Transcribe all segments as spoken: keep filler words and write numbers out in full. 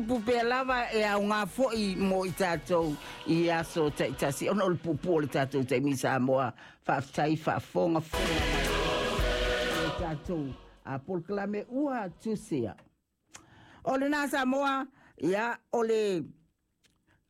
Tupu pea lava e aoga foi mo i tatou i aso taitasi ona o le puupuu o le tatou taimi Samoa. Faafetai faafogafoga mai i le tatou polokalame ua tusia. O lena Samoa, ia o le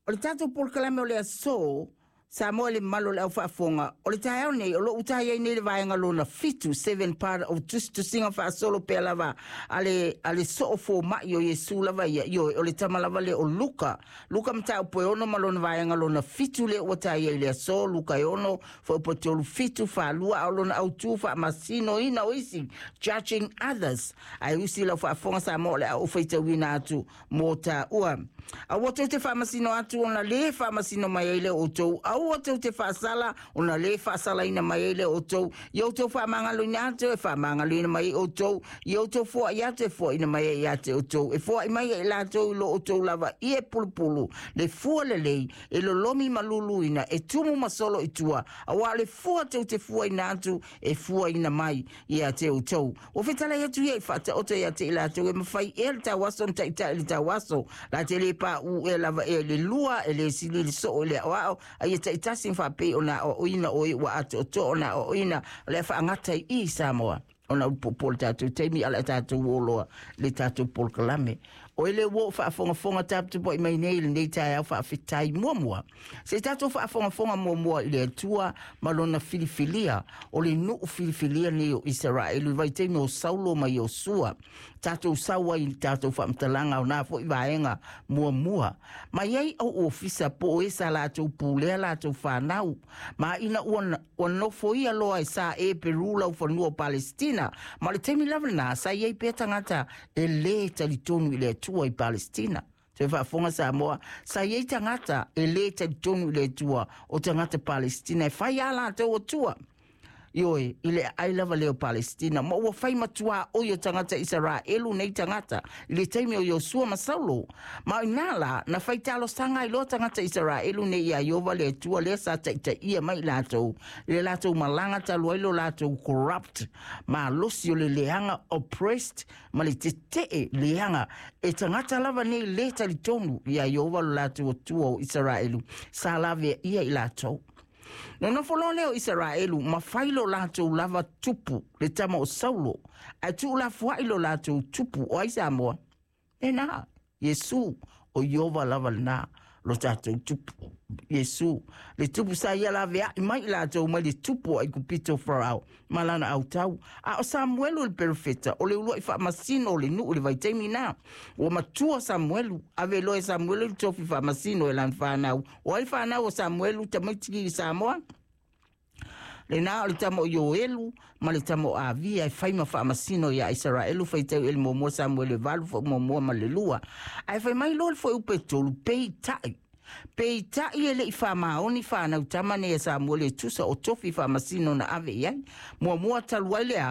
o le tatou polokalame o le aso Samoa i le mamalu o le aufaafofoga o le taeao nei, o loo uta ai nei le vaega lona fitu, seven part of tusitusiga faasolo pea lava a le a le soo foma'i o Iesu lava ia. Ioe, o le tama lava le o Luka, Luka mataupu e ono ma lona vaega lona fitu le ua taia i le aso. Luka e ono fuaiupu tolu fitu faalua, a o lona autū, faamasinoina o isi, judging others. Ae usi lau faafofoga Samoa, o le a ou faitauina atu mo tāua. Aua tou te faamasino atu ona lē faamasino mai ai le outou. Aua tou te faasala ona lē faasalaina mai ai le outou. Ia outou faamagaloina atu, e faamagaloina mai ai outou. Ia outou foai atu, e foaina mai ai ia te outou. E foai mai ai latou i lo outou lava ia e pulupulu le fua lelei e lolomi ma luluina e tumu ma solo i tua, auā le fua tou te fuaina atu e fuaina mai ia te outou. Ua fetalai atu ia i faataoto ia te i latou, e mafai ea le tauaso ona taʻitaʻi le tauaso? La te lē paʻū ea lava ea le lua e lē sili le soo i le aʻoaʻo? A ia taʻitasi ma faapei ona aʻoaʻoina o e ua atoatoa ona aʻoaʻoina. O le a faagata i i Samoa ona o le puupuu o le tatou taimi, a le a tatou oloa le tatou polokalame. O ele ua ou faafogafoga taputapuai mai nei i lenei taeao, faafetai. Muamua se i tatou faafogafoga muamua i le Atua ma lona filifilia o le nuu filifilia nei o Isaraelu i vaitaimi o Saulo ma Iosua. Tatou sau ai i tatou faamatalaga o na fo'i vaega muamua mai ai au ofisa po o e sa latou pulea latou fanau ma ina ua, ua nofoia loa e sa e Peru lau fanua o Palestina. Ma o le taimi lava lena sa iai pea tagata e lē talitonu i le Atua i Palestina. Toe faafofoga Samoa, sa iai tagata e lē talitonu i le Atua o tagata Palestina e fai a latou atua. Ioe, i le ai lava lea o Palestina ma ua fai matuā oi o tagata Isaraelu nei tagata i le taimi o Iosua ma Saulo. Ma o inā la na fai talosaga ai loa tagata Isaraelu nei iā Ieova le Atua lea sa taʻitaʻia mai latou i le latou malaga talu ai lo latou corrupt malosi o le leaga, oppressed ma le teteʻe leaga e tagata lava nei lē talitonu iā Ieova lo latou Atua o Isaraelu sa laveaʻia i latou. Nonofo loa lea o Isaraelu ma fai lo latou lava tupu le tama o Saulo, ae tuulafoaʻi lo latou tupu. O ai Samoa? Lena Iesu o Ieova lava lena lo tatou tupu. Iesu le tupu sa ia laveaʻi mai i latou mai le tupu o Aikupito Farao ma lana autau. A o Samuelu le perofeta o le uluaʻi faamasino o le nuu i le vaitaimi na. Ua matua Samuelu, ave loa e Samuelu le tofi faamasino e lana fanau. O ai fanau o Samuelu tamaiti i Samoa? Lena o le tama o Ioelu ma le tama o Avia e fai ma faamasino iā Isaraelu, faitau e le muamua Samuelu e valu muamua ma le lua. Ae fai mai loa le fuaiupu e tolu, peitaʻi peitaʻi e leʻi faamaoni fanau tama nei a Samuelu e tusa o tofi faamasino na ave i ai muamua talu ai lea.